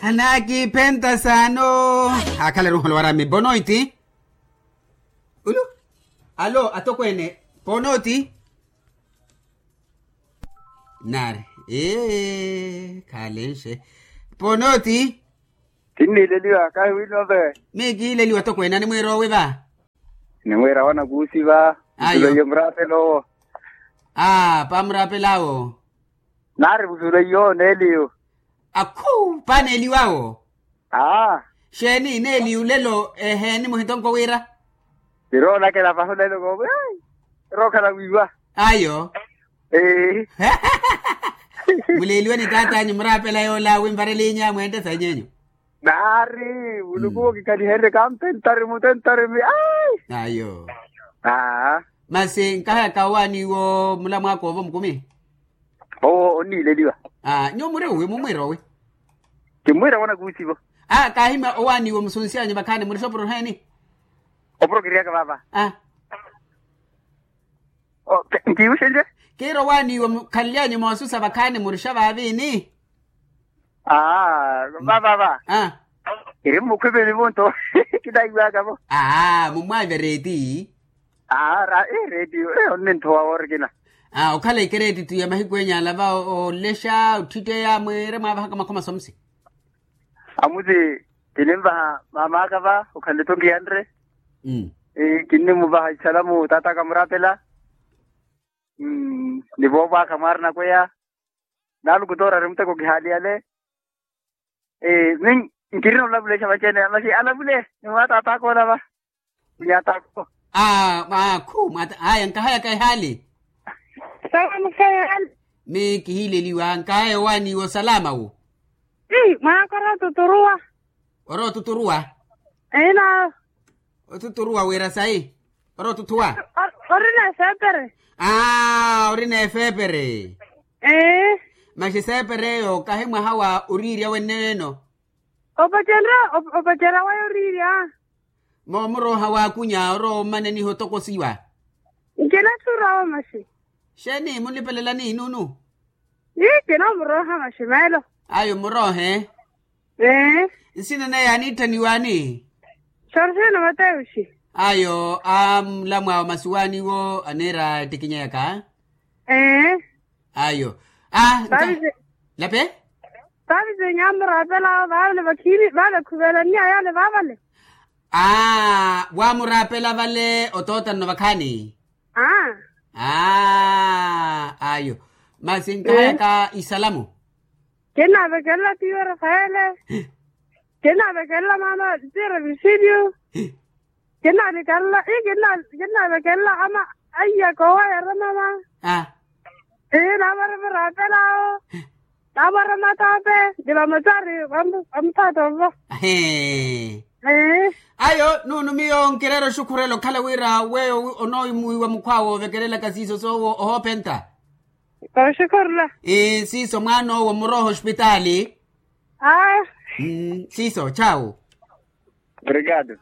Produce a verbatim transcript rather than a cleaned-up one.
Anakiphenta saano. Akhala eruholo warami bonoiti. Ulu. Alo atokweene. Ponooti. Nari ee khalenxe. Ponooti. Kinniileliwa kahiwinope. Miikiileliwa atokweene animwiira owi va. Nimwiira wanakuusi va. Ayo. Musuleiye muraapela owo. Aa paamuraapelaawo. Naari musuleiye owo neeliyo. Akhu paaneeliwaawo. Aa. Xeeni neeliyo lelo eheeni muhitonko wira. Siroolakela paho lelo koowi. Rookhala wiiwa. Ayo. Ee. Muleeliwe ni taat'anyu muraapela yoola winvarelinya mweente sanyenyu. Naari muluku okikhaliherye kampentari mutentari mi ai. Ayo. Aa. Masi nkahayaka owaaniiwo mulamwaaka ovo mukumi. Owo onniileliwa. Aa nyuwo muri owi mumwiira owi. Kimmwiira wanakuusivo. Aa kaahimya owaaniiwo musunsi anyu vakhaani murixa opuro heeni. Opuro kiryaka vaava. Aa. Nkiiwuxenrye. Kiira owaaniiwo mukhanlyanyu moosusa vakhaani murixa vaaviini. Aa vavava. Aa. Kiri mmukhwipelivo nto. Kinaiwaka vo. Aa mumwaave reeti. Aa reeti. Onninthuwa woorikina. Aa okhala ikereeti tu ya mahiku enya alava olexa otthitteya mwiire mwaavahaka makhoma somusi. Amuti kininvaha maamaaka va okhanle-tho nkiyanre. Kinnimuvaha isalamu taat'aka muraapela. Ni voovwaaka mwaarina kweya. Naaluku toorari muteko kihaaliyale. Ee mi nkirina olavulexa vaci-ene masi alavule ni mwa taat'aka olava. Nyatako. Aa mwaakhu mwaata aya nkahayaka ehaali. Salamu khayaali. Mi kihiileliwa nkahaya owaaniiwa osalama wo. Mwaaka orotuturuwa. Orotuturuwa. Ina. Otuturuwa wira sayi. Orotuthuwa. Orina efeepere. Aa orina efeepere. Ee. Masi eseepere eyo kahi mwaha wa oriirya wenneyo eno. Opacerya waya oriirya. Moomurooha waakunya orowa ommaneniha otokosiwa. Nkinatthu orooha maxi. Xeeni munlipelelani nunu. Ii kinoomurooha maxi meelo. Ayo muroohe. Ee. Nsina naye aniitthaniwaani. Sorxeena mateuxi. Ayo amlamwaawo masi waaniwo aniira ettikinyeyaka. Ee. Ayo. Aa nka. Lape. Vaavi sinyamuraapelaawo vaavale vakhiini vale khuvelanniya yaale vaavale. Aa waamuraapela vale otootanno vakhaani. Aa. Aa ayo. Masi nkahayaka isalamu. Kinnaavekelela tiiwe rafaele. Kinnaavekelela maama tiire visilyu. Kinnaavekelela ii kinnaavekelela ama aiyaka owo ayera mama. Ii naamwara viraapelaawo. Naamwara matoope. Ni vamutari vamuthaata ovo. Ayo nunu miyo nkireera oxukhurela okhala wira weyo onoomuwiwa mukhwaawe oovekelelaka siiso soowo ohoopenta. Oxukhurela. Ii siiso mwaan'owo murooha ospitaali. Aa. Siiso chawu. Obrigado.